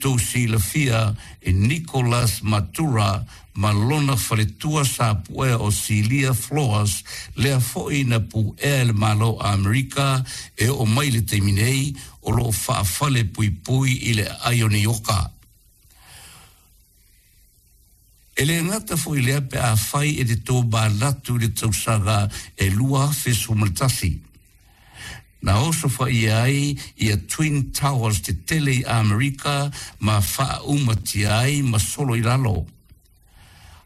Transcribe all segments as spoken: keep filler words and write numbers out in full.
Outou silafia e Nicolas Maduro ma lona faletua sa puea o Cilia Flores, lea foi na puea e le Malo Amerika e oo mai le taimi nei o loo faafale puipui i le aai o Nioka. E le gata foi lea pe afai e te tomanatu i le tausaga e lua afe sefulu ma le tasi. Na osofaia ai ia Twin Towers tetele i Amerika ma faaumatia ai ma solo i lalo.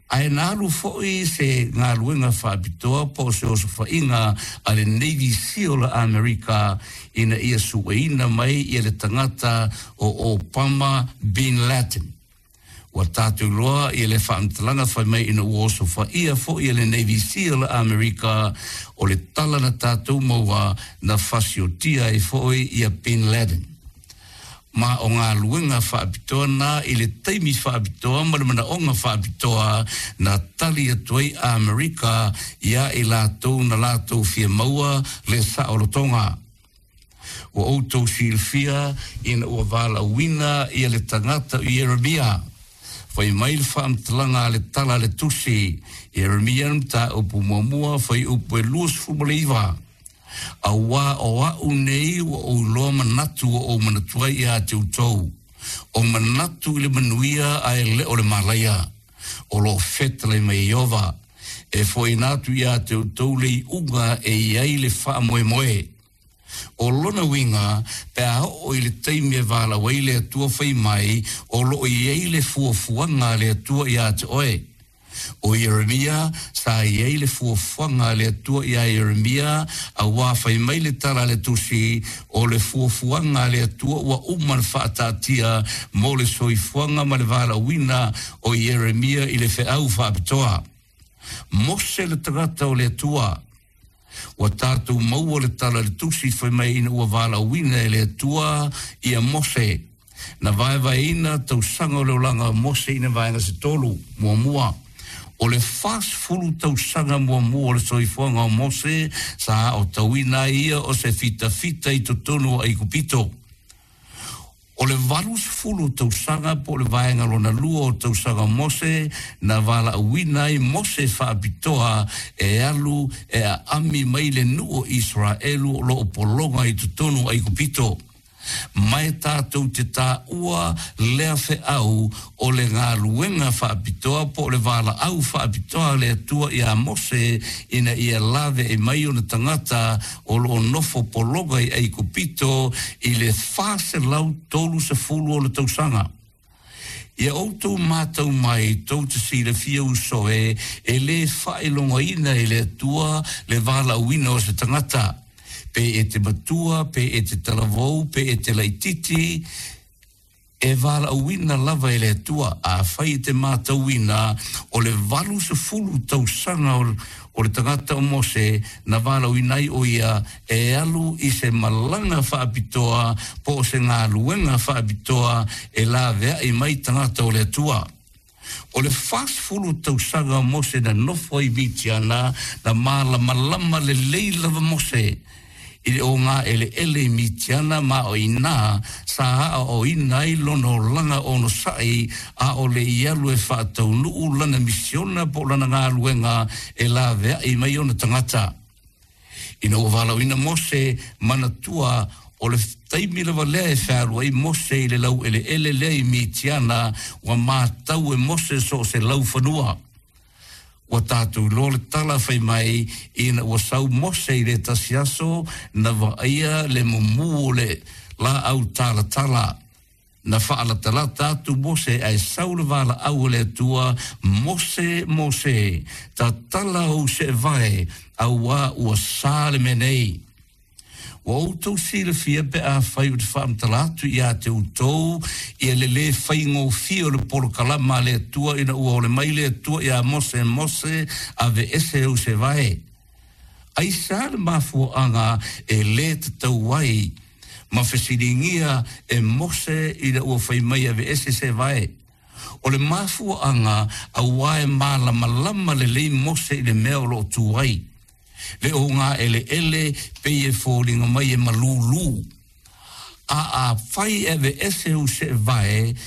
Ae na alu foi se galuega faapitoa po o se osofaiga a le Navy SEAL a Amerika ina ia sueina mai ia le tagata o Obama Bin Laden. Ua tatou iloa ia le faamatalaga fai mai ina ua osofaia foi e le Navy SEAL a Amerika, o le tala na tatou maua na fasiotia ai foi ia Bin Laden. Ma o galuega faapitoa na i le taimi faapitoa ma le manaoga faapitoa na tali atu ai Amerika ia i latou na latou fia maua le saolotoga. Ua outou silafia ina ua valaauina ia le tagata o Ieremia. Fai mai le faamatalaga a le tala a le tusi, Ieremia mataupu muamua fuaiupu e luasefulu ma le iva. Auā o a'u nei ua ou iloa manatu ua ou manatu ai iā te outou. O manatu i le manuia ae le o le malaia. O loo fetalai mai Ieova. E foaiina atu iā te outou le iuga e i ai le faamoemoe. O lona uiga, pe a oo i le taimi e valaau ai le Atua fai mai, o loo i ai le fuafuaga a le Atua iā te oe. O Ieremia, sa i ai le fuafuaga a le Atua iā Ieremia, auā fai mai le tala a le tusi, o le fuafuaga a le Atua ua uma ona faataatia mo le soifuaga ma le valaauina o Ieremia i le feau faapitoa. Mose le tagata o le Atua. Ua tatou maua le tala a le tusi fai mai ina ua valaauina e le Atua ia Mose. Na vaevaeina tausaga o le olaga o Mose i nai vaega se tolu. Muamua, o le fasefulu tausaga muamua o le soifuaga o Mose sa aotauina ai ia o se fitafita i totonu o Aikupito. O le valusefulu tausaga po o le vaega lona lua o tausaga o Mose na valaauina ai Mose faapitoa e alu e aami mai le nuu o Iseraelu o loo pologa i totonu o Aikupito. Ma e tatou te taua lea feau o le galuega faapitoa po o le valaau faapitoa a le Atua iā Mose ina ia laveai mai ona tagata o loo nofo pologa i Aikupito i le fa selau tolu sefulu ona tausaga. Ia outou matau mai, tou te silafia uso e, e lē faailogaina e le Atua le valaauina o se tagata, pe e te matua, pe e te talavou, pe e te laititi, e valaauina lava e le Atua. Afai e te matauina o le valusefulu tausaga o le tagata o Mose na valaauina ai o ia e alu i se malaga faapitoa po o se galuega faapitoa e laveai mai tagata o le Atua. O le fasefulu tausaga o Mose na nofo ai Mitiana, na malamalama lelei lava Mose i le ogaeleele i Mitiana ma o i inā sa aoaoina ai lona olaga onosai a o le i alu e faataunuu lana misiona po o lana galuega e laveai mai ona tagata. Ina ua valaauina Mose, manatua o le taimi lava lea e fealu ai Mose i le laueleele lea i Mitiana, ua matau e Mose so o se laufanua. Ua tatou iloa le tala fai mai ina ua sau Mose i le tasi aso na vaaia le mumu o le laau talatala. Na faalatalata atu Mose ae sau le valaau a le Atua, Mose, Mose, tatala ou seevae, auā ua sa le mea nei. Ua outou silafia pe afai ou te faamatala atu iā te outou ia le lē faigofie o le polokalama a le Atua ina ua ole mai le Atua iā Mose, Mose, aveese ou seevae. Aisea le mafuaaga e lē tatau ai ma fesiligia e Mose ina ua fai mai aveese seevae? O le mafuaaga auā e malamalama lelei Mose i le mea o loo tu ai. Le ogaeleele pei e foliga mai e malūlū. A afai e aveese ou seevae